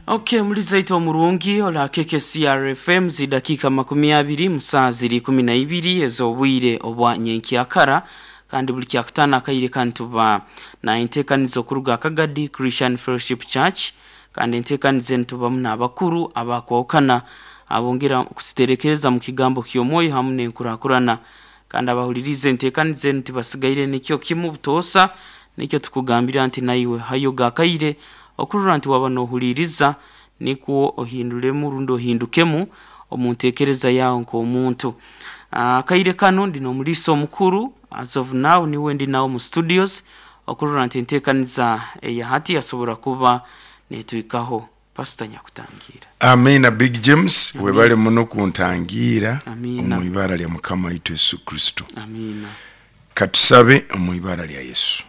Okay, mulizaito omurungi ola KKCR FM zidakika 20 musaa ziri 12 ez'obwire obwa nyenkyakara, kandi buli kyakutaano akaire kantuba na enteekaniza okuruga Kagadi Christian Fellowship Church, kandi enteekaniza enu tubamu n'abakuru abakwahukana abongera kututerekereza mu kigambo ky'omwoyo hamu n'enkurakurana. Kandi abahuliriza enteekaniza enu tibasigaire nikyo kimu butoosa, nikyo tukugambira nti naiwe hayo gakaire okurora nti waba nohuliriza nikwo ohinduremu rundi ohindukemu omu ntekereza yawe nk'omuntu. Akaire kano ndi n'omuliisa omukuru, as of now niwe ndi nawe mu studios okurora nti enteekaniza eya hati yasobora kuba netuhikaho. Pastor nyakutangiira. Amiina Big James, webale muno kuntangiira Amiina. omu ibara lya Mukama waitu Yesu Kristo. Amiina. Katusabe omu ibara lya Yesu.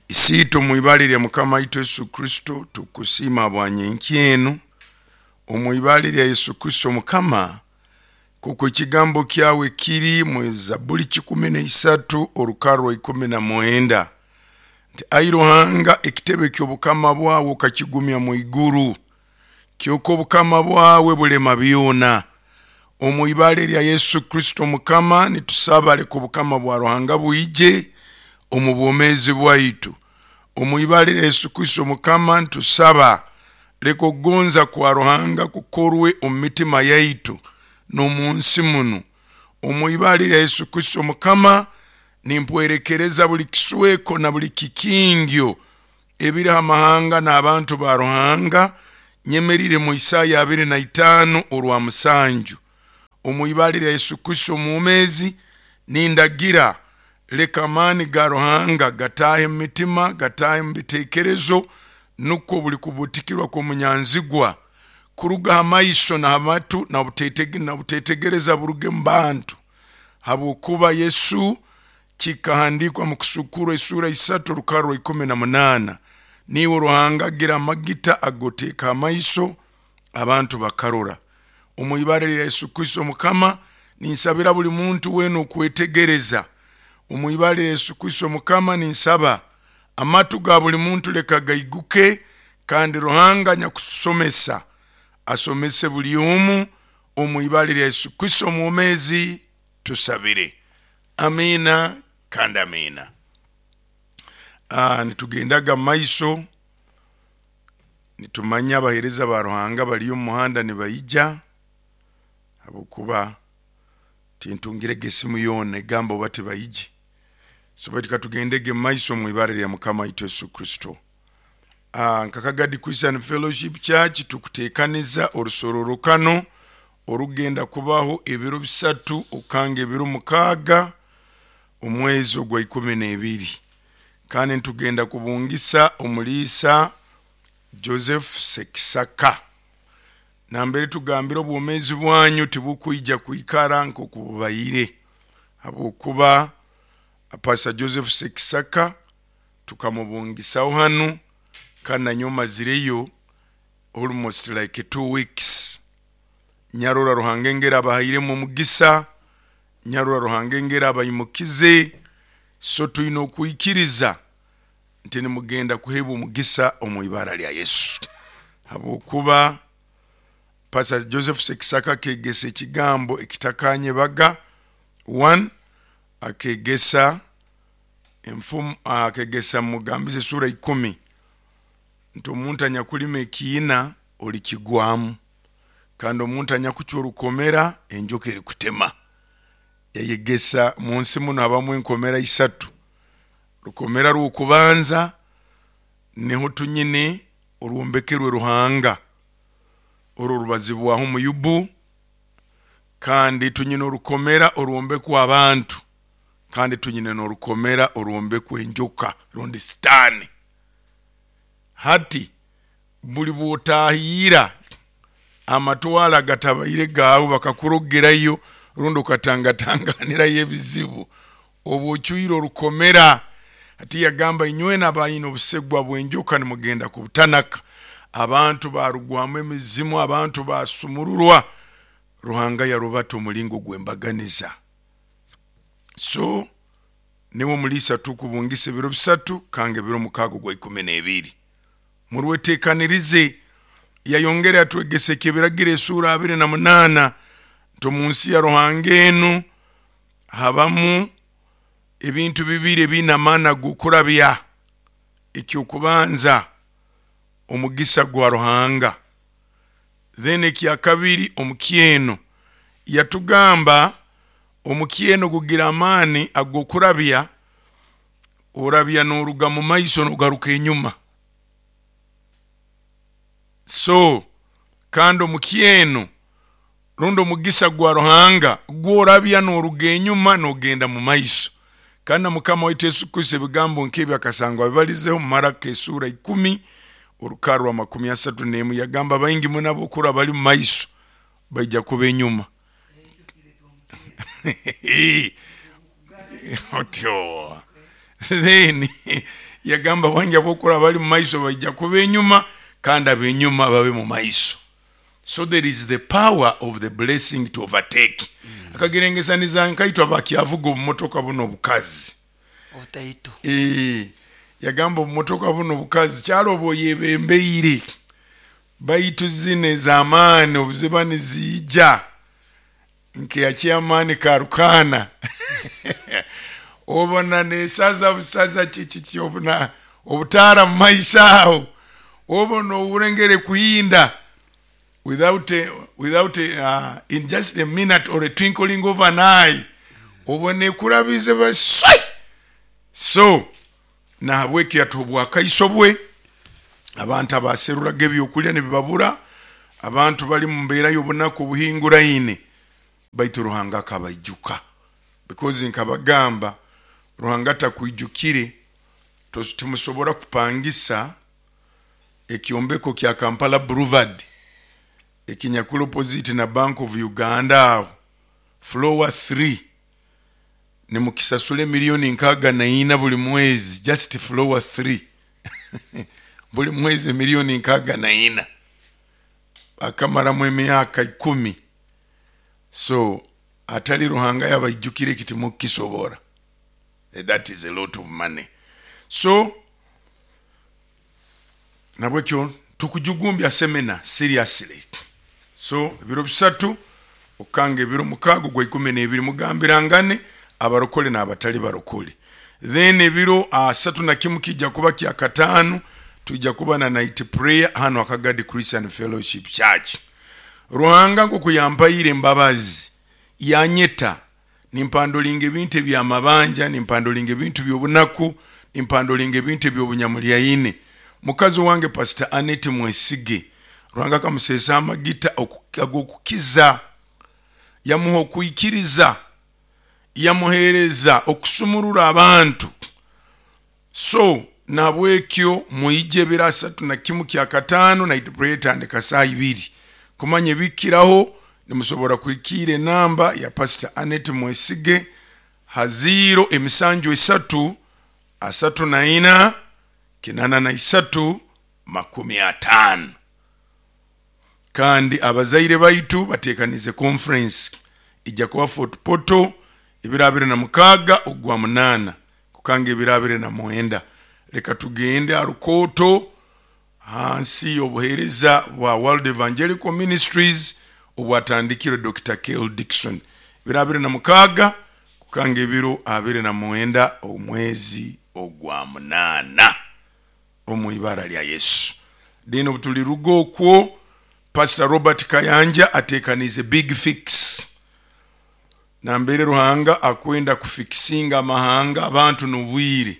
Isiitwe omu ibara lya Mukama waitu Yesu Kristo, tukusiima habwa nyenkya enu omu ibara lya Yesu Kristo Mukama, kuko ekigambo kyawe kiri mu Zaburi 13 orukarro 19 nti ai Ruhanga, ekitebe ky'obukama bwawe okakigumya mu iguru, kyokka obukama bwawe bulema byona. Omu ibara lya Yesu Kristo Mukama, nitusaba leka obukama bwa Ruhanga bwije omu bwomeezi bwaitu. Omu ibara lya Yesu Kristo Mukama, nitusaba leka okugonza kwa Ruhanga kukorwe omu mitima yaitu n'omu nsi munu. Omu ibara lya Yesu Kristo Mukama, nimpwerekereza buli kisweko na buli kikingyo ebiri ha mahanga n'abantu ba Ruhanga, nyemerire mu Isaya 25 orwa 7. Omu ibara lya Yesu Kristo omwomeezi, nindagira leka amaani ga Ruhanga gataahe mu mitima, gataahe mu biteekerezo, nukwo buli kubutikirwa kw'omunyanzigwa kuruga ha maiso na ha matu na butetegereza buruge mu bantu, habwokuba Yesu kikahandikwa mu Kusukurwa esura 3 orukarro 18, niiwe Ruhanga agira amagita agoteeka amaiso abantu bakarora. Omu ibara lya Yesu Kristo Mukama, ninsabira buli muntu weena okwetegereza. Omu ibara lya Yesu Kristo Mukama, ninsaba amatu ga buli muntu leka gaiguke, kandi Ruhanga nyakusomesa asomese buli omu. Omu ibara lya Yesu Kristo omwomeezi tusabire, amiina kandi amiina. Nitugendaga maiso, nitumanya abaheereza ba Ruhanga bali omu muhanda nibaija, habwokuba tintungirege esimu yoona egamba oba tibaije. So baitu katugendege maiso omu ibara lya Mukama waitu Yesu Kristo. Nka Kagadi Christian Fellowship Church tukuteekaniza orusororokano orugenda kubaho ebiro 3 okanga ebiro 6 omwezi ogwa 12, kandi nitugenda kubungisa omuliisa Joseph Sekisaka. Nambere tugambira obwomeezi bwanyu tibukwija kwikara nk'okububaire, habwokuba Pastor Joseph Sekisaka tukamubungisaho hanu, kandi nanyowe mazireyo almost like 2 weeks. Nyarora Ruhanga engeri abahairemu omugisa, nyarora Ruhanga engeri abaimukize, so twine okwikiriza nti nimugenda kuheebwa omugisa omu ibara lya Yesu, habwokuba Pastor Joseph Sekisaka akegesa ekigambo ekitakanyebaga. 1 akegesa enfumu, akegesa mugambize esura 10 nti omuntu anyakulima ekiina olikigwamu, kandi omuntu anyakucwa orukomera enjoka erikutema. Yayegesa mu nsi muno habamu enkomera 3. Rukomera rw'okubanza niho tunyine orwombekerwe Ruhanga, orwo rubazibwaho mu Yubu, kandi tunyine orukomera orwombekwa abantu, kandi tunyine n'orukomera orwombekwa enjoka rundi Sitaani. Hati buli bw'otahiira amatwaro agatabaire gaawe bakakurogerayo rundi okatangatanganirayo ebizibu, oba ocwire orukomera. Hati yagamba inywena abaine obusegwa bw'enjoka nimugenda kubutanaka. Abantu barugwamu emizimu, abantu basumururwa, Ruhanga yarubata omulingo gw'embaganiza. So niwe omuliisa tukubungisa ebiro 3 kanga ebiro 6 ogwa 12. Murwetekanirize. Yayongera yatwegesa ekyebiragiro esuura 28 nti omu nsi ya Ruhanga enu habamu ebintu bibiri ebiine amaani ag'okurabya. Ekyokubanza, omugisa gwa Ruhanga, then ekyakabiri omukyeno. Yatugamba omukyeno gugira amaani ag'okurabya, orabya n'oruga mu maiso n'ogaruka enyuma. So kandi omukyeno rundi omugisa gwa Ruhanga gworabya n'oruga enyuma n'ogenda mu maiso. Kandi na Mukama waitu Yesu Kristo ebigambo nk'ebi akasangwa abibalizeho mu Marako esuura 10 orukara rwa 31, yagamba baingi muno abokura bali mu maiso baija kuba enyuma. Otyo then yagamba baingi abokura bali mu maiso baija kuba enyuma, kandi abenyuma babe mu maiso. So there is the power of the blessing to overtake. Akagirengesaniza nkaitwe abakyavuga obumotoka buno obukazi obutaito. Yagamba obumotoka buno obukazi kyalo oba oyebembeire, baitu zino ez'amaani obuziba niziija nkeya chairman Karukana obona nesaza busaza kiki obona obutaara mu maiso aho, obona owurengere kuhinda without a, without a, in just a minute or a twinkling of an eye, obona ekurabize baswai. So nahabwekyo yatuha obwakaiso bwe. Abantu abaseruraga ebyokulya nibibabura, abantu bali mu mbeera y'obunaku obuhinguraine, baitu Ruhanga akabaijuka. Because nkabagamba, Ruhanga atakwijukire timusobora kupangisa ekyombeko kya Kampala Boulevard ekinyakuli opposite na Bank of Uganda aho floor 3, nimukisasura emiliyoni 64 buli mwezi, just floor 3 buli mwezi emiliyoni 64, akamaramu emyaka 10. So atali Ruhanga yabaijukire eki timukisobora. That is a lot of money. So nabwekyo tukujugumbya semina seriously. So ebiro 3 okukanga ebiro 6 ogwa 12 mugambirangane abarokole n'abatali barokole. Then ebiro 31 kijja kuba kya 5, tujja kuba na night prayer hano Akagadi Christian Fellowship Church. Ruhanga nkoku yampaire embabazi yanyeta, nimpandolinga ebintu ebyamabanja, nimpandolinga ebintu by'obunaku, nimpandolinga ebintu eby'obunyamulyaine. Mukazi wange Pastor Annette Mwesige, Ruhanga akamuseesa amagita ag'okukiza, yamuha okwikiriza, yamuhereza okusumurura abantu. So nabwekyo mwije ebiro 31 kya 5 night prayer tandika saa 2. Kumanya ebikiraho nimusobora kuhikiira enamba ya Pastor Annette Mwesige ha ziro emisanju esatu asatu na ina kinana na isatu makumi atano. Kandi abazaire baitu batekanize conference ijja kuba Fort Portal ebiro 26 ogwa 8 kukanga ebiro 29. Leka tugende arukoto hansi y'obuheereza bwa World Evangelical Ministries obwatandikirwe Dr. Kel Dixon, ebiro 26 kukanga ebiro 29 omwezi ogwa 8 omu ibara lya Yesu. Then obutuliruga okwo, Pastor Robert Kayanja atekanize big fix nambere Ruhanga akwenda kufikisinga amahanga abantu n'obwire.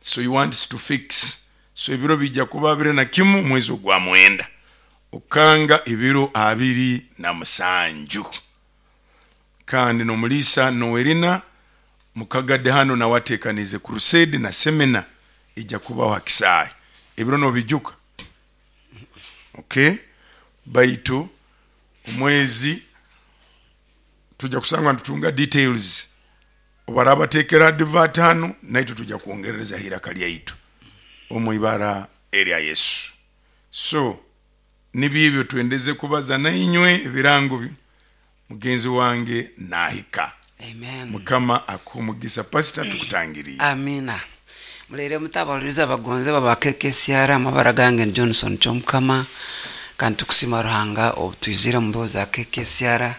So he wants to fix. So ebiro bijja kuba 21 mwezi ogwa 9 okanga ebiro 27. Kandi n'omulisa Noelina Mukagade hano nawe atekanize crusade na semina ijja kubaho hakisaayi. Ebiro nobijuka. Okay, baitu omwezi tujja kusanga nitutunga details. Obarabatekera advert hano naitwe tujja kwongerereza hiraka lyaitu omu ibara erya Yesu. So nibyo ebyo twendeze kubaza nainywe ebirango mugenzi wange nahika. Amen. Mukama akuhe omugisa pastor, tukutangiriye. Amina. Muleire muta abahuliiriza abagonzebwa ba KKCR, amabara gange ni Johnson Kyomukama, kandi tukusiima Ruhanga obu twizire mu mbeho za KKCR.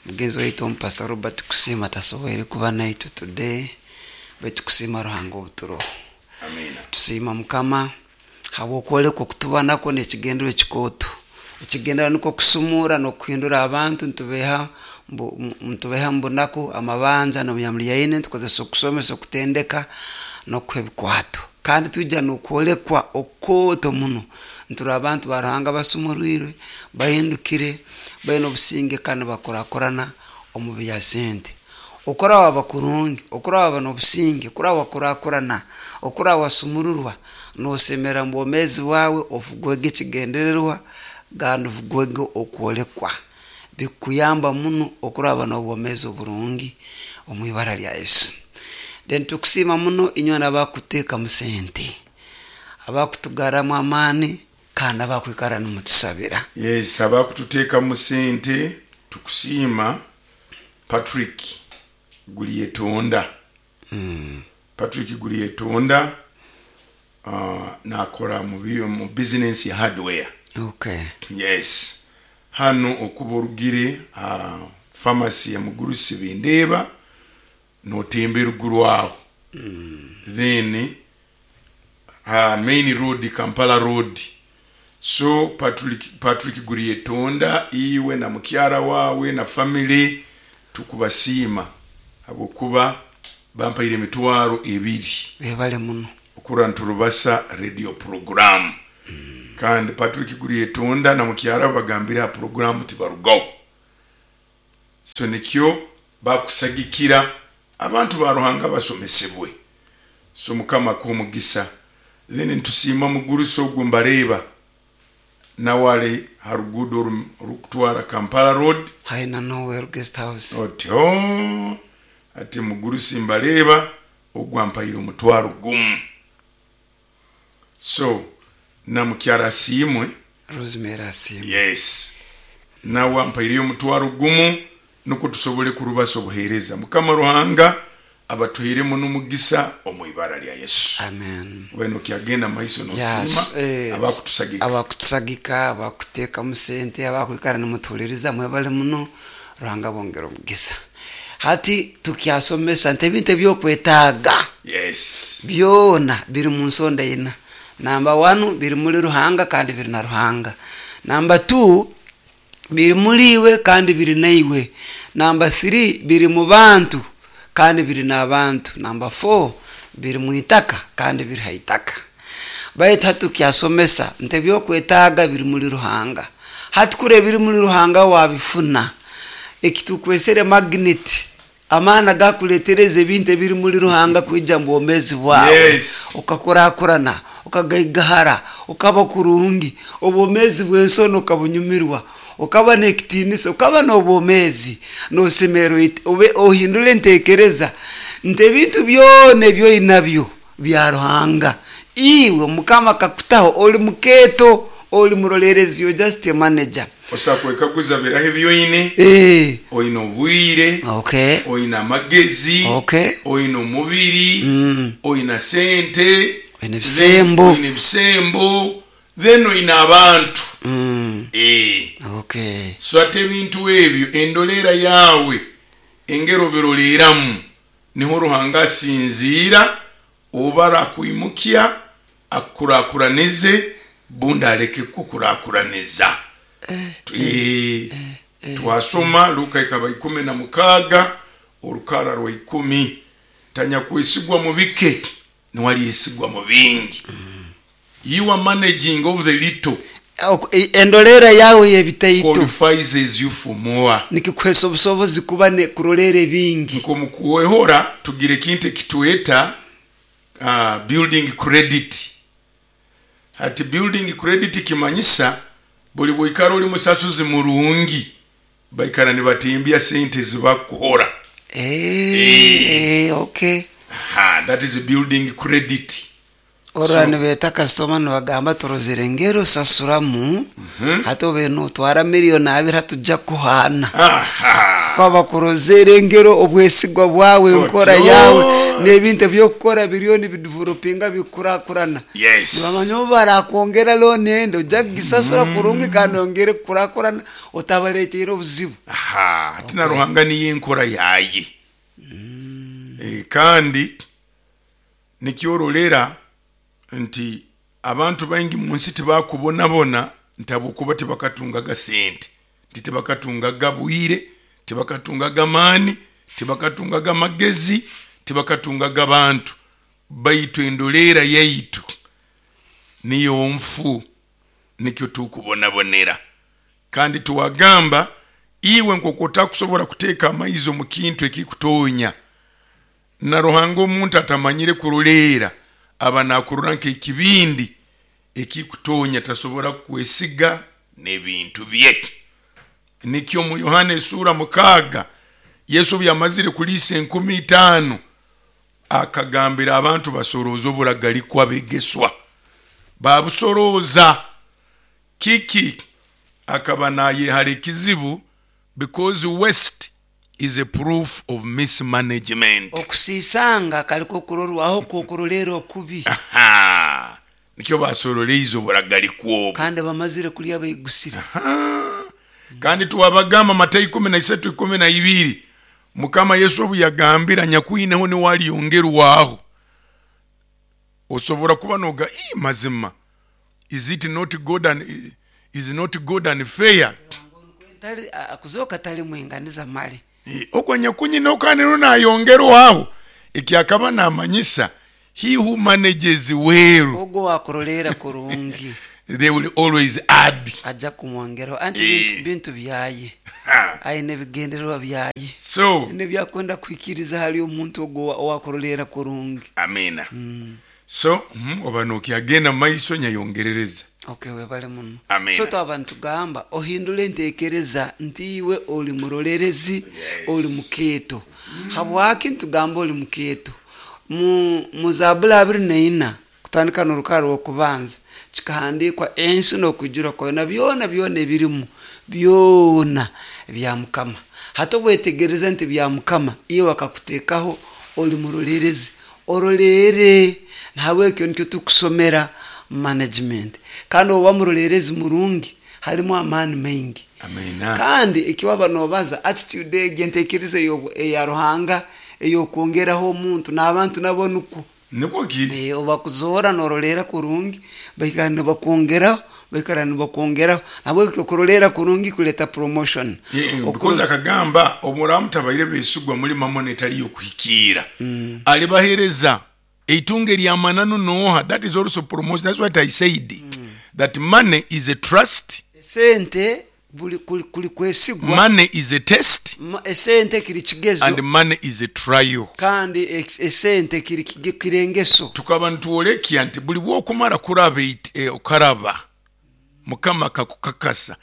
Mugenzi waitu Omupastor Robert Kusiima tasoboire kuba naitwe today, baitu tukusiima Ruhanga obu turoho. Amina. Tusiima Mukama habw'okwolekwa okutuba nakwo n'ekigendererwa ekikooto. Ekigendererwa nikwo kusumurra n'okuhindura abantu nitubeha nitubeha mu bunaku, amabanja n'obunyamulyaine, nitukozesa okusomesa, okutendeka n'okuha ebikwato. Kandi twija n'okwolekwa okukooto muno, nturora abantu ba Ruhanga basumurwirwe, bahindukire, baine obusinge kandi nibakurakurana omu bya sente. Okuraba waba kurungi, okuraba waba n'obusinge, okuraba wakurakurana, okuraba wasumururwa, nosemera mu bwomeezi bwawe, ofugwege ekigendererwa kandi ofugwege okwolekwa. Bikukuyamba muno okuraba n'obwomeezi oburungi omu ibara lya Yesu. Then tukusiima muno inywena abakuteekamu sente, abakutugarramu amaani kandi abakwikara nimutusabira. Yes, abakututeekamu sente tukusiima. Patrick Gulyetonda. Patrick Gulyetonda nakora mu bizinensi ya hardware. Okay. Yes. Hanu okuba orugire ha pharmacy ya Mugurusi Bindeeba notemba eruguru aho. Then ha main road Kampala road. So Patrick, Patrick Gurietonda iwe na mukyara wawe na family tukubasiima habwokuba bampaire emitwaro ebiri. Webale muno. Okurora niturubasa radio program. Kandi Patrick Gurietonda na mukyara we bagambire ha program tibarugaho. So nikyo bakusagikira abantu ba Ruhanga basomesebwe. So Mukama akuhe omugisa. Then nitusiima mugurusi ogwo mbareeba nawe ari ha ruguudo orukutwara Kampala road. Haihi na Noel guest house. Oti hoo ati mugurusi mbareeba ogwo ampaire omutwaro gumu. So na mukyara asiimwe. Rosemary asiimwe. Yes nawe ampaireyo omutwaro gumu nukwo tusobole kurubasa obuhereza. Mukama Ruhanga abatuhairemu nomugisa omu ibara lya Yesu. Amen. Obaire nokyagenda mumaiso nosiima Yes, eh, abakutusagika. Abakutusagika, abakutekamu sente, abakwikara nimutuhuliriza mwebale muno, Ruhanga abongere omugisa. Hati tukyasomesa nti ebintu ebyokwetaaga Yes. byona biri mu nsonda ina. Namba wanu biri muli Ruhanga kandi biri na Ruhanga. Namba tu biri muli iwe kandi biri naiwe. Namba thiri biri mu bantu kandi biri n'abantu. Namba four biri mu itaka kandi biri ha itaka. Baitu hati tukyasomesa nti ebyokwetaaga biri muli Ruhanga. Hati kuri ebiri muli Ruhanga wabifuna, ekitukwesere magnet, amaani agakuletereza ebintu ebiri muli Ruhanga kwija mu bwomeezi bwawe, Yes. okakurakurana, okagaigahara, okaba kurungi, obwomeezi bw'ensoni okabunyumirwa, okaba n'ekitiinisa, okaba n'obwomeezi, nosemererwa obe ohindule entekereza nti ebintu byona ebi oinabyo bya Ruhanga. Iwe Mukama akakutaho oli mukeeto, oli muroleerezi, you're just a manager. Osobola kwekaguza biraha ebi oine? Eh. Oine obwire, Okay. oine amagezi, Okay. oine omubiri, oine sente, Oine ebisembo. oine ebisembo, then oine abantu. Eh. Okay. So ate ebintu ebyo endoleera yaawe engeri obiroleeramu niho Ruhanga asinziira oba arakwimukya akukurakuranize bundi aleke kukukurakuraniza. Twasoma Luka ikaba 16 orukara rwa 10, tanyakwesigwa mu bike niwe alyesigwa mu bingi. Your managing of the little Endoleera yawe y'ebitaito qualifies you for more. Nikikuhesa obusobozi kuba ne kuroleera ebingi. Nko mukuwehora tugira ekintu ekitweta building credit. Hati building credit kimanyisa buli bwoikara oli musasuzi murungi, baikara nibatembya sente ezibakuhora. Okay. Aha, that is building credit. Orora nibeeta kasitoma nibagamba turozere ngeri osasuramu, hati obaire notwara miriyoni abiri hati tujja kukuhaana. Aha. Bakuba bakurozere engero obwesigwa bwawe, enkora Otyo. yawe n'ebintu ebyokukora biriyo nibidevelopinga, bikurakurana. Nibamanya obu barakwongera looni endi ojja kugisasura kurungi kandi ongere kukurakurana otabaleteire obuzibu. Aha, hati na Ruhanga niyo enkora yaye. Kandi nikyorolera nti abantu baingi munsi tibakubonabona nti habwokuba tibakatungaga sente, nti tibakatungaga bwire, tibakatungaga maani, tibakatungaga magezi, tibakatungaga bantu, baitu endoleera yaitu niyo nfu, nikyo tukubonabonera. Kandi tuwagamba iwe nk'oku otakusobora kuteeka amaizi omu kintu ekikutonya, na Ruhanga omuntu atamanyire kuroleera aba nakurora nk'ekibindi ekikutonya, tasobora kukwesiga n'ebintu bye. Nikyo mu Yohana esuura 6, Yesu obu yamazire kuliisa 5,000, akagambira abantu basorooze oburagalikwa abegeswa. Babusorooza. Kiki? Akaba nayehara ekizibu, because waste is a proof of mismanagement. Okusiisanga kali k'okurorwaho kw'okuroleera okubi. Aha. Nikyo basoroleize oburagalikwa obu. Kandi bamazire kulya baigusire. Aha. Kandi twabagamba Matayo 13:12, Mukama Yesu obu yagambira nyakwineho niwe alyongerwaho. Osobora kuba noga, ii mazima, is it not God and, is not God unfair? Tali, kuzooka tali mwinganiza mali. Ogwo nyakunyina kandi niwe nayongerwaho. Eki akaba namanyisa, he who manages well, Ogwo owakuroleera kurungi, they will always add. Aja kumwongeraho. Anti bintu byaye. Aine ebigendererwa byaye. So, N'ebyakwenda kuhikiriza hali omuntu ogwo owakuroleera kurungi. Amina. So, oba nokyagenda mu maiso nyayongerereza. Okay, webale muno. Amina. So twaba nitugamba ohindule entekereza nti iwe oli murolerezi, oli mukeeto. Habwaki nitugamba oli mukeeto? Mu Zabuli 24 kutandika n'orukara rw'okubanza kikahandiikwa ensi n'okwijura kwayo na byona byona ebirimu byona bya Mukama. Hati obwetegereza nti bya Mukama, iwe akakuteekaho oli murolerezi, oroleere. Nahabwekyo nikyo tukusomera management. Kandi oba murolerezi murungi halimu amaani maingi. Amina. Kandi eki waba nobaza attitude egi, entekereza eya Ruhanga ey'okwongeraho omuntu n'abantu nabo nukwo. Nikwo ki? Obakuzoora noroleera kurungi, baikara nibakwongeraho, baikara nibakwongeraho. Nahabwekyo okuroleera kurungi kuleeta promotion. Because akagamba obu muraaba mutabaire besigwa muli mamona etali y'okuhikiira, alibahereza eitungo ery'amananu nooha? That is also promotion. That's what I said, that money is a trust. Esente buli kuli kwesigwa. Money is a test. Esente kiri kigezo. And money is a trial. Kandi esente kiri kirengeso. Tukaba nitwolekya nti buli bwokumara kuraba okaraba Mukama akakukakasa,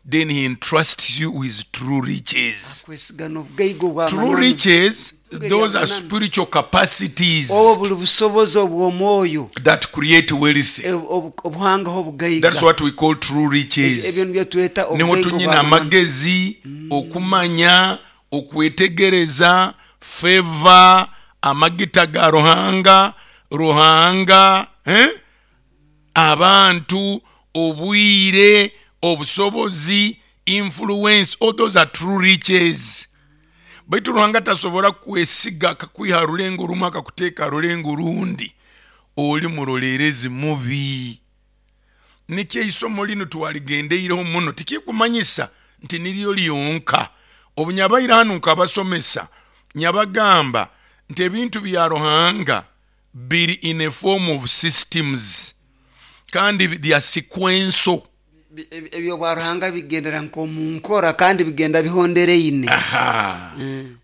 then he entrusts you with true riches. Akwesiga n'obugaiga obwa True mananu. riches, Itungo those are ery'amananu. spiritual capacities Obo buli busobozi obw'omwoyo that create wealth. Obuhangaho obugaiga. That's what we call true riches. Ebyo nibyo tweta Niho obugaiga tunyina obw'amananu. amagezi, okumanya, okwetegereza, favor, amagita ga Ruhanga, Ruhanga, Abantu, obwire, obusobozi, influence, all those are true riches. Baitu Ruhanga tasobora kukwesiga akakwiha ha rulengo rumu akakuteeka ha rulengo rundi, oli muroleerezi mubi. Nikyo eisomo linu twaligendeireho muno, tikikumanyisa nti niryo lyonka. Obu nyabaire hanu nkabasomesa, nyabagamba nti ebintu bya Ruhanga biri in a form of systems kandi they are sequential. Eby'obwa Ruhanga bigendera nk'omu nkora kandi bigenda bihondereine. Aha.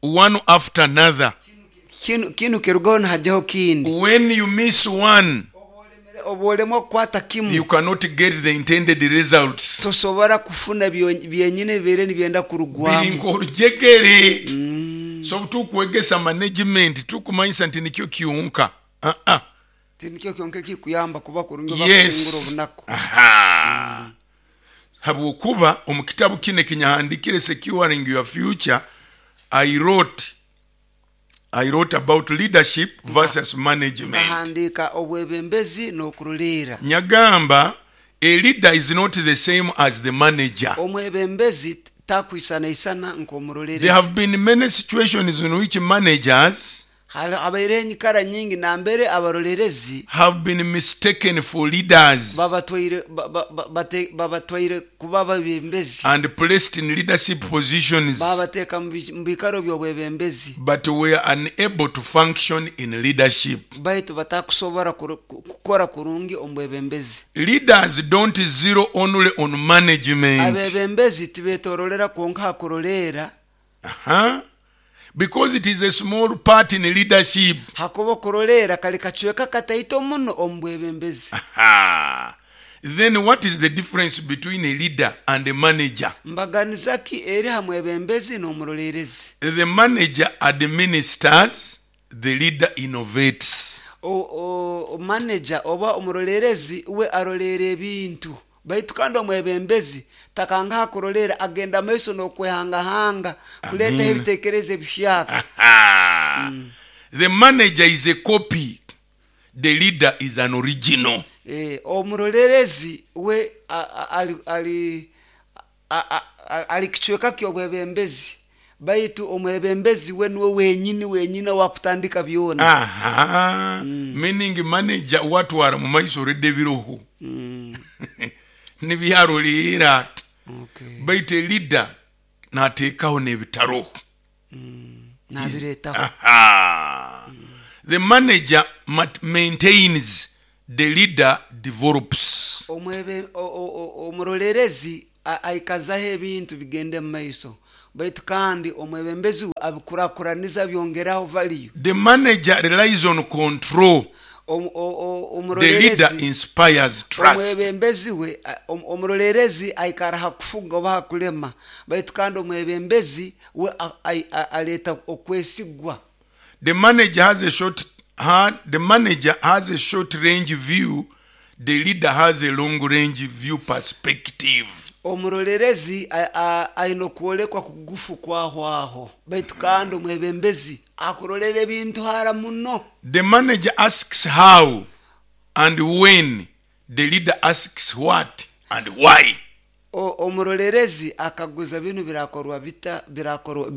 One after another. Kinu kirugaho nihajyaho kindi. When you miss one, Obu olemwa kukwata kimu, you cannot get the intended results. Tosobora kufuna byenyini ebibaire nibyenda Biri kurugwamu. Nk'orujegere. So obu tukwegesa management, tukumanyisa nti nikyo kyonka. Uh-uh. Tinikyo kyonka ekikuyamba kuba kurungi oba kusingura obunaku. Aha. Habwokuba omu kitabu kinu ekinyahandikire, Securing Your Future, I wrote about leadership versus management. Nkahandiika obwebembezi n'okuruliira. Nyagamba a leader is not the same as the manager. Omwebembezi takwisanaisana There nk'omurolerezi. have been many situations in which managers Habaireho enyikara nyingi nambere abarolerezi have been mistaken for leaders babatwaire babatwaire kuba babembezi and placed in leadership positions, babateeka mu biikaro by'obwebembezi, but were unable to function in leadership. Baitu batakusobora kukora kurungi omu bwebembezi. Leaders don't zero only on management. Abebembezi tibetorolera kwonka ha kuroleera. Because it is a small part in leadership. Hakuba okuroleera kali kacweka kataito muno omu bwebembezi. Aha. Then what is the difference between a leader and a manager? Mbaganiza ki eri ha mwebembezi n'omuroleerezi? The manager administers, the leader innovates. Manager oba omuroleerezi we aroleera ebintu, baitu kandi omwebembezi takangaha kuroleera, agenda maiso n'okwehangahanga kuleetaho Amen. ebiteekerezo ebihyaka. Aha. The manager is a copy, the leader is an original. Omuroleerezi we ali ali kicweka ky'obwebembezi, baitu omwebembezi we niwe wenyini wenyini owakutandika byona. Aha. Meaning manager watwara mu maiso already biroho nibyaroleera, baitu leader nateekaho n'ebitaroho. Nabireetaho. Aha. The manager maintains, the leader develops. Omurolerezi aikazaho ebintu bigende mu maiso, baitu kandi omwebembezi we abikurakuraniza, byongeraho value. The manager relies on control. The leader Omurolerezi inspires trust. Omwebembezi we omurolerezi aikara ha kufuga oba ha kulema, baitu kandi omwebembezi we aleeta okwesigwa. The manager has a short range view. The leader has a long range view perspective. Omurolerezi aine okwolekwa kugufu kwahwaho, baitu kandi omwebembezi akurolera ebintu hara muno. The manager asks how and when. The leader asks what and why. Omurolerezi akaguza binu birakorwa bita, birakorwa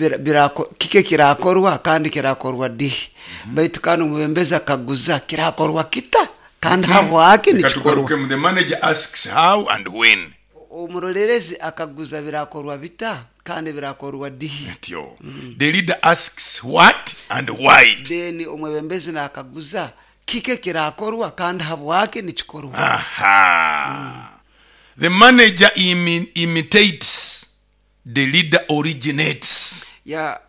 kike kirakorwa kandi kirakorwa dihi, baitu kandi omwebembezi akaguza kirakorwa kita kandi habwaki nikikorwa. Katugarukemu. The manager asks how and when. Omurolerezi akaguza birakorwa bita kandi birakorwa dihi. Atyo. The leader asks what and why. Then omwebembezi nakaguza kike kirakorwa kandi habwaki nikikorwa. Aha. The manager imitates, the leader originates. Ya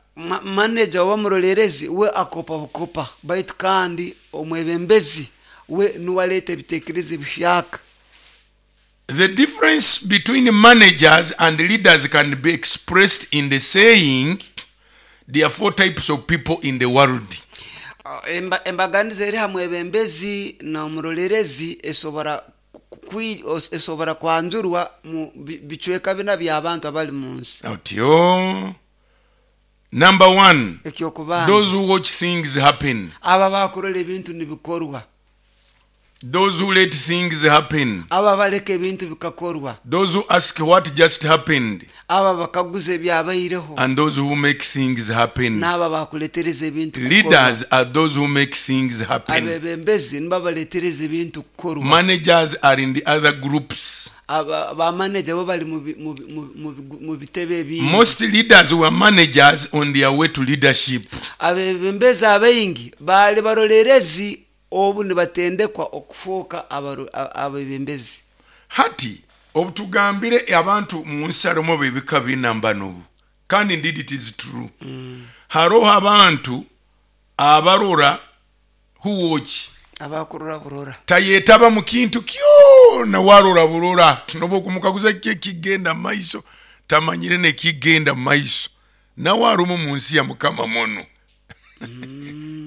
manager oba murolerezi we akopa bukopa, baitu kandi omwebembezi we niwe aleeta ebitekerezo ebihyaka. The difference between managers and leaders can be expressed in the saying, there are four types of people in the world. Embaganiza eri ha mwebembezi n'omurolerezi esobora esobora kwanjurwa mu bicweka bina by'abantu abali mu nsi. Otyo. Number one, Ekyokubanza, those who watch things happen. Aba bakurora ebintu nibikorwa. Those who let things happen. Aba baleka ebintu bikakorwa. Those who ask what just happened. Aba bakaguza ebyabaireho. And those who make things happen. N'aba bakuletereza ebintu kukorwa. Leaders are those who make things happen. Abebembezi nibo baletereza ebintu kukorwa. Managers are in the other groups. Aba bamaneja bo bali mu bi- mu bi- mu- mu bigu- mu bitebe ebindi. Most leaders were managers on their way to leadership. Abebembezi abaingi baali barolerezi obu nibatendekwa okufuuka abebembezi. Hati obutugambire abantu mu nsi harimu bebika bina mbanobu, kandi indeed it is true. Haroho abantu abarora, who watch. Abakurora burora. Tayetaba mu kintu kyona, warora burora, noba okumukaguza ki ekigenda mu maiso, tamanyire nekigenda mu maiso, nawe arumu mu nsi ya Mukama muno.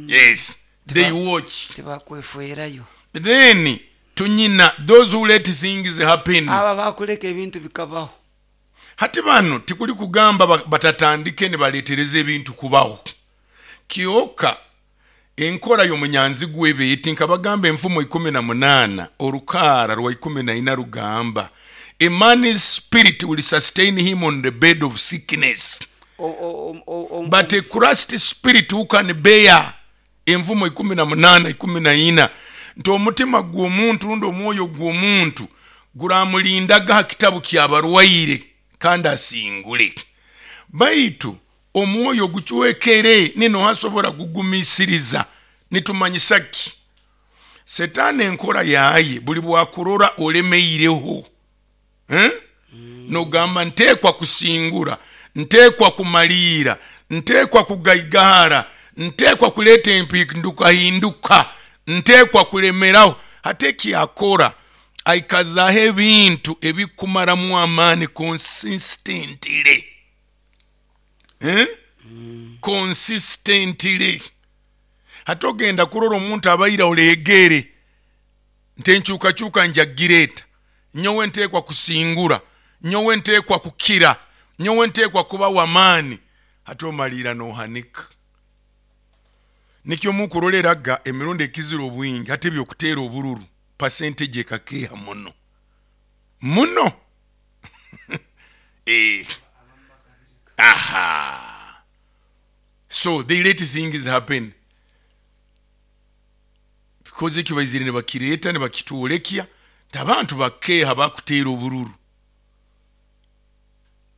Yes, they watch. Tibakwefuerayo. Then tunyina those who let things happen. Aba bakuleka ebintu bikabaho. Hati bano tikuli kugamba batatandike nibaletereza ebintu kubaho. Kyoka enkora y'omunyanzigwa ebe eti, nkabagamba enfumo 18 orukaara rwa 14 rugamba, a man's spirit will sustain him on the bed of sickness, but a crushed spirit who can bear? Enfumo 18:14, nti omutima gw'omuntu rundi omwoyo gw'omuntu guramulindaga ha kitabu ky'abarwaire kandi asingule, baitu omwoyo gucwekere nino hasobora kugumisiriza. Nitumanyisa ki? Setaani enkora yaye buli bwakurora olemeireho, eh? Nogamba nteekwa kusingura, nteekwa kumaliira, nteekwa kugaigahara, nteekwa kuleeta empindukahinduka, nteekwa kulemeraho. Hati ekyakora aikazaho ebintu ebikumaramu amaani consistently, eh? Consistently. Hati ogenda kurora omuntu abaire olegere nti enkyukakyuka njagireeta, nyowe nteekwa kusingura, nyowe nteekwa kukira, nyowe nteekwa kuba w'amaani. Hati omaliira nohanika. Nikyo mukuroleraga emirundi ekizira obwingi hati ebyokuteera obururu percentage ekakeeha muno muno. Aha, so they let things happen because ekyo baizire nibakireeta nibakitwolekya nti abantu bakeeha bakuteera obururu,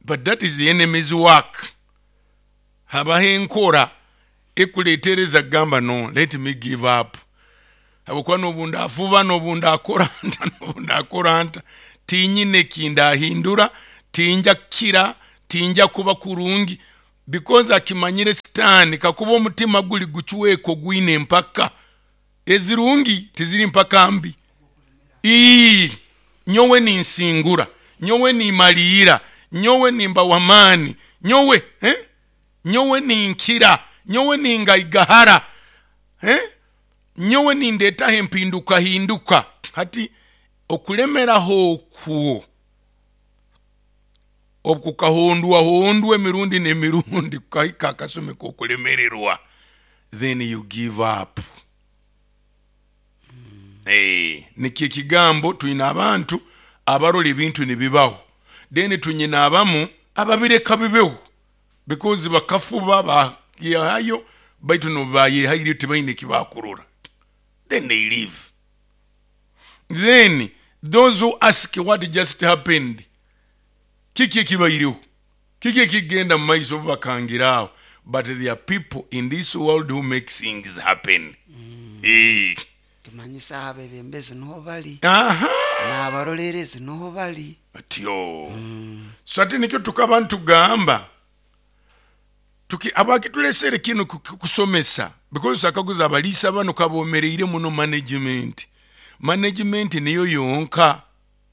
but that is the enemy's work. Habaho enkora ekuletereza kugamba, no, let me give up, habwokuba nobu ndafuba, nobu ndakora nta, nobu ndakora nta, tinyine ekindahindura, tinja kukira, tinja kuba kurungi, because akimanyire sitaani kakuba omutima guli gucweka ogwine empaka ezirungi tiziri mpaka mbi. Ii, nyowe ninsingura, nyowe nimaliira, nyowe nimba w'amaani, nyowe, eh? Nyowe ninkira, nyowe ningaigahara, eh? Nyowe nindeetaho empindukahinduka. Hati okulemeraho okwo okukahondwahondwa emirundi n'emirundi kukahika akasumi k'okulemererwa, then you give up. Nikyo ekigambo twine abantu abarora ebintu nibibaho, then tunyina abamu ababireka bibeho because bakafuba bayehayo, baitu nobu bayehaireyo tibaine ekibakurora, then they leave. Then those who ask what just happened, kiki ekibaireho, kiki ekigenda mu maiso, obu bakangira aho. But there are people in this world who make things happen. Tumanyise aho abebembezi nuho bali, n'abarolerezi nuho bali. Atyo. So ati nikyo tukaba ntugamba abakitulesere kinu kusomesa, because akaguza abaliisa bano kabomereire muno management. Management niyo yonka.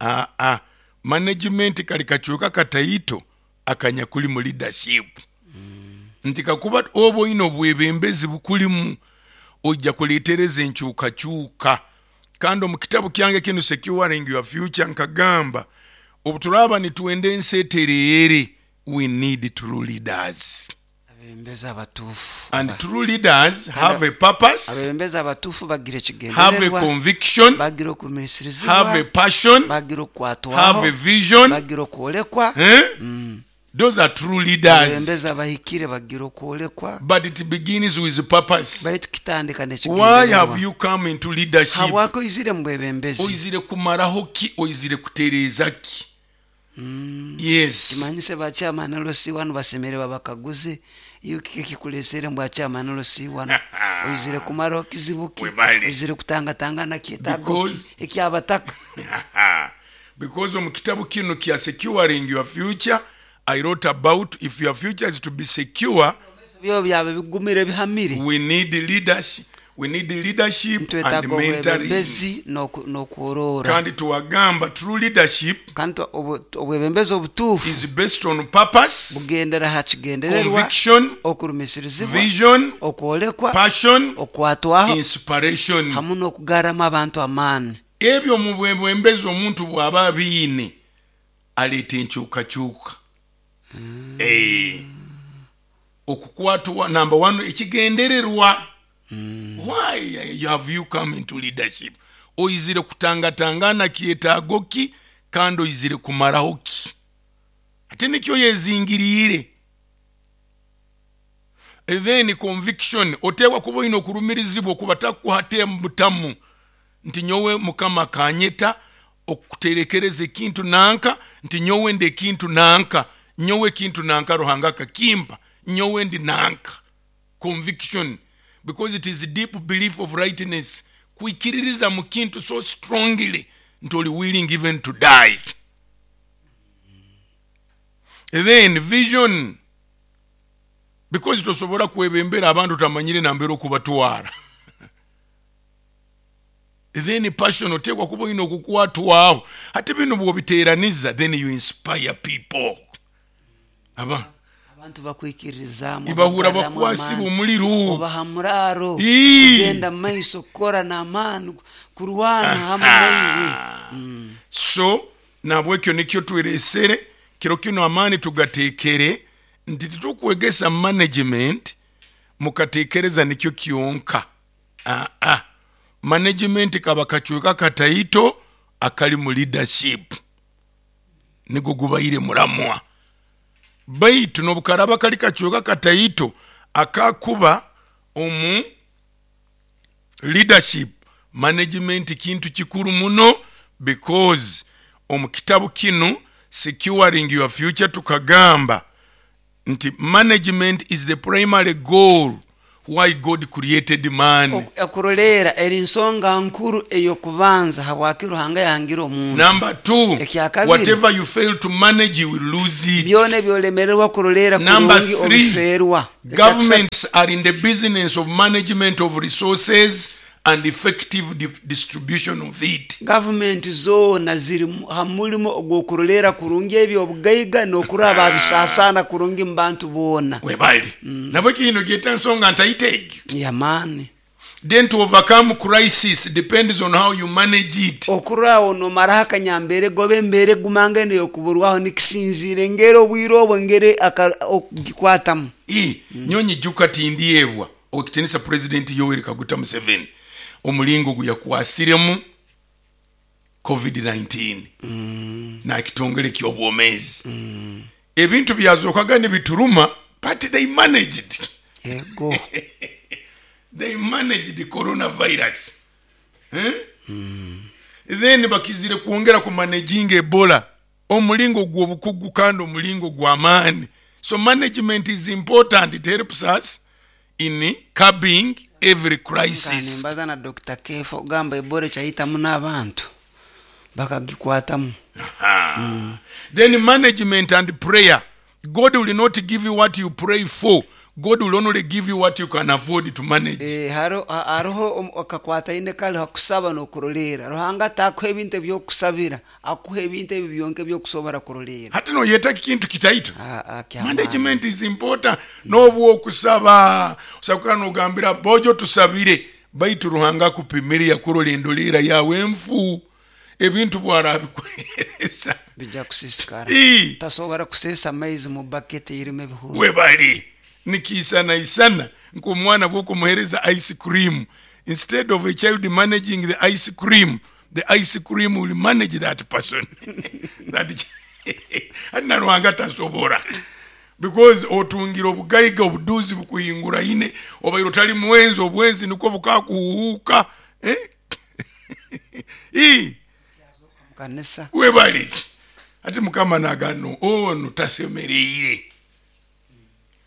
Aa, management kali kacweka kataito akanyakuli mu leadership. Nti kakuba oba oine obwebembezi bukulimu, ojja kuletereza enkyukakyuka. Kandi omu kitabu kyange kinu Securing Your Future nkagamba obu turaaba nitwenda ensi etereere, we need true leaders. Abebembezi abatuufu. And true leaders have a purpose, Abebembezi abatuufu bagira have a ekigendererwa, conviction, bagira okugumiisirizibwa, have a passion, bagira have okukwatwaho, a vision. Bagira okwolekwa. Eh? Those are true leaders. Abebembezi abahikire bagira okwolekwa. But it begins with purpose. Baitu kitandika Why n'ekigendererwa. have you come into leadership? Habwaki oizire mu bwebembezi? Oizire kumaraho ki? Oizire kutereeza ki? Yes. Kimanyise ba chairman LC1 basemere babakaguze, iyo kiki kikulesere mbwa chairman LC1, oizire kumaraho kizibu ki? Webale. Oizire kutangatangana kyetaago ki ekyabataka? Because omu kitabu kinu kya Securing Your Future, I wrote about if your future is to be secure, Byo byaba bigumire bihamire, we need leadership, we need leadership and nitwetaaga mentoring. Obwebembezi n'okworora. Kandi tuwagamba true leadership Kandi obwebembezi obutuufu is based on purpose, bugendera ha kigendererwa, conviction, okurumisiririzibwa, vision, okwolekwa, passion, okwatwaho, inspiration. Hamu n'okugaramu abantu amaani. Ebyo mu bwebembezi omuntu bw'aba abiine aleeta enkyukakyuka. Eh, okukwatwa number one ekigendererwa. Why have you come into leadership? Oizire kutangatangana kyetaago ki, kandi oizire kumaraho ki? Ate nikyo yezingiriire. Then conviction, oteekwa kuba oine okurumirizibwa okuba takuha butamu nti nyowe Mukama akanyeta okuterekereza ekintu nanka, nti nyowe ndi ekintu nanka, nyowe ekintu nanka Ruhanga akakimpa, nyowe ndi nanka. Conviction, because it is deep belief of rightness, kwikiririza mu kintu so strongly nti oli willing even to die. Then vision, because tosobora kwebembera abantu otamanyire nambere okubatwara. Then passion, oteekwa kuba oine okukwatwaho. Hati binu bwobiteraniza, then you inspire people. Aba abantu bakwikiririzaamu, ibahura obagarramu bakwasibwa amaani, omuliro, obaha muraaro kugenda mumaiso, kukora n'amaani, kurwana hamu naiwe. So nabwekyo nikyo tweresere kiro kino, amaani tugatekere nti titukwegesa management mukatekereza nikyo kyonka. Aa, management kaba kacweka kataito akali mu leadership, nigo gubaire muramwa, baitu nobukaraba kali kacweka kataito akakuba omu leadership, management kintu kikuru muno, because omu kitabu kinu Securing Your Future tukagamba nti management is the primary goal why God created man. Okuroleera eri nsonga nkuru ey'okubanza habwaki Ruhanga yahangire omuntu. Number two, Ekyakabiri, whatever you fail to manage, you will lose it. Byona ebyolemererwa kuroleera Number kurungi three, obiferwa. governments are in the business of management of resources and effective distribution of it. Gavumenti zoona ziri ha mulimo ogw'okuroleera kurungi eby'obugaiga n'okurora babisaasaana kurungi mu bantu boona. Webali. Nabwe kino gyeta nsonga ntaito egyo. Yamaani. Then to overcome crisis depends on how you manage it. Okurora nomaraho akanyambeere goba embeera egumangene ey'okuburwaho nikisinziira engeri obwire obwo engeri okugikwatamu. Nyonyi juka tindyebwa owekitinisa President Yoweri Kaguta Museveni omulingo ogu yakwasiremu COVID-19 nakitongole ky'obwomeezi. Ebintu byazokaga nibituruma, but they managed. Ego. They managed coronavirus. Eh? Then bakizire kwongera ku managing Ebola omulingo gw'obukugu kandi omulingo gw'amaani. So management is important, it helps us in curbing every crisis. Nimbaza na Dr. Kefa ogamba Ebola ekyayitamu n'abantu bakagikwatamu. Then management and prayer. God will not give you what you pray for. God will only give you what you can afford to manage. Haroho akakwataine kali hakusaba n'okuroleera. Ruhanga atakuha ebintu ebyokusabira, akuha ebintu ebi byonka ebyokusobora kuroleera. Hati noyeta kintu kitaito. Kyamaani. Management is important. N'obwokusaba osaba nogambira bojo tusabire, baitu Ruhanga akupimire yakurola endolera yawe enfu, ebintu bwarabikuhereza bijja kusisikara. Tasobora kuseesa amaizi mu baketi erimu ebihuru. Webali nikiisana isana nk'omwana bwokumuhereza ice cream, instead of a child managing the ice cream, the ice cream will manage that person. That ati na Ruhanga tasobora, because otungira obugaiga obuduzi bukuhinguraine, obaire otali mwenzi, obwenzi nikwo bukakuhuhuka, eh? Kanisa. Webali ati Mukama nagano ono tasemereire.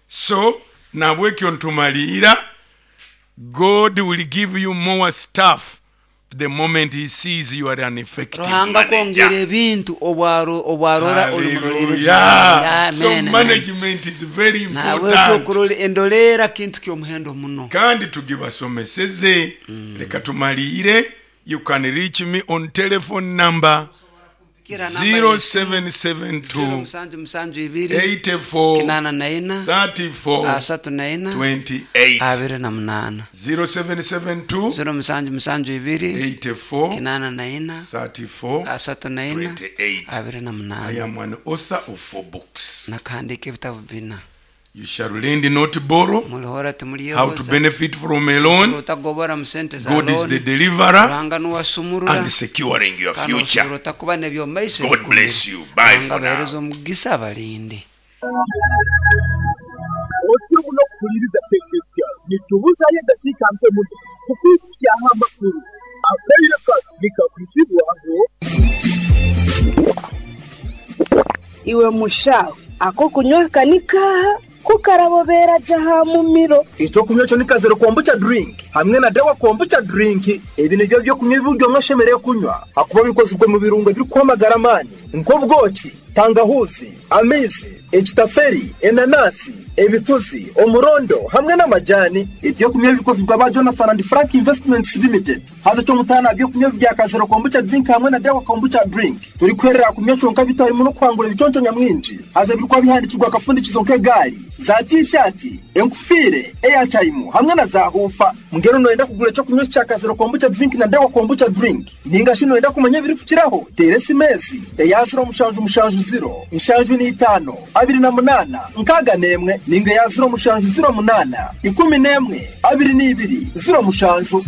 So nabwekyo ntumaliira, God will give you more stuff the moment he sees you are an effective Ruhanga manager. kwongera ebintu obwarora oli murolerezi. Hallelujah. So Amen. management is very Nabwekyo important. okurora endoleera kintu ky'omuhendo muno. Kandi tugibasomeseze. Leka tumaliire. You can reach me on telephone number. Kira namba y'esimu, 0772 0772 84 84 34 34 28. 28. 0772 0772 84 84 34 34 28. I 28. am an author of 4 books. Nakahandika ebitabo bina. You shall lend, not borrow. Mulihora How to timulyehoza. benefit from a loan. Utagobora mu sente za God is the loan. deliverer Ruhanga nuwasumurura and securing your kandi future. osobora otakuba n'ebyomaiso God bless you. Bye Ruhanga for now. abahereza omugisa abalinde. Otyo muno kuhuliriza KKCR nitubuzayo eddakiika mpe muno kukwikyaho amakuru akaire kano nikakuzibwaho. Iwe mushaho ako kunywa kanikaha kukarabobera jaha mumiro. Ekyokunywa ekyo ni kazero kombucha drink hamwe na dawa kombucha drink. Ebi nibyo byokunywa ebi omwe ashemereire kunywa hakuba bikozirwe mu birungo ebirikwamagara amaani nk'obwoki, tangahuzi, amaizi, ekitaferi, enanasi, ebituzi, omurondo hamwe n'amajani. Ebyokunywa bikozirwe aba Jonathan and Frank Investments Limited. Haza ekyomutaano byokunywa bya kazero kombucha drink hamwe na dawa kombucha drink turikwerera kunywa kyonka bitarimu n'okuhangura ebiconco nyamwingi. Haza birikuba bihandikirwa akafundikizo nk'egaari za tishati, enkufiire, airtime hamwe na za hufa. Mbwenu noyenda kugura ekyokunywa kya kazero kombucha drink na dawa kombucha drink ninga shi noyenda kumanya ebirikukiraho, teera esimeezi eya 077 075 28 61 ninga eya 0708 11 22 07.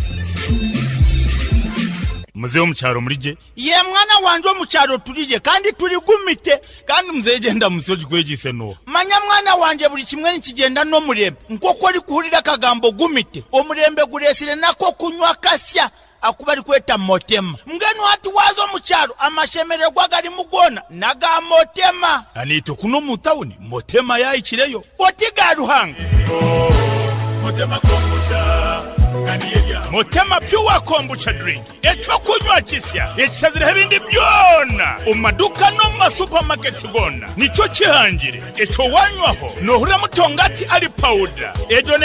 Muzehe wo mu cyaro muri je? Ye mwana wanje, wo mu cyaro turije kandi turi gumite Kandi muzehe genda musoji kwegise no. Manya mwana wanje, buri kimwe nikigenda n'omurembe nk'oku ori kuhurira akagambo gumite. Omurembe guresire nako kunywa kasya akuba ari kweta motema. Mbwenu hati waza omu cyaro amashemererwa garimu gona naga motema. Anito kuno mu tawuni motema yayikireyo. Oti ga Ruhanga. Motema kombucha. Motema pure kombucha drink, ekyo kunywa kisya ekishazireho ebindi byona omu maduka no mu masupamaketi gona. Nicyo kihangire ekyo wanywaho nohurira mutongati ari pawuda egyo ne.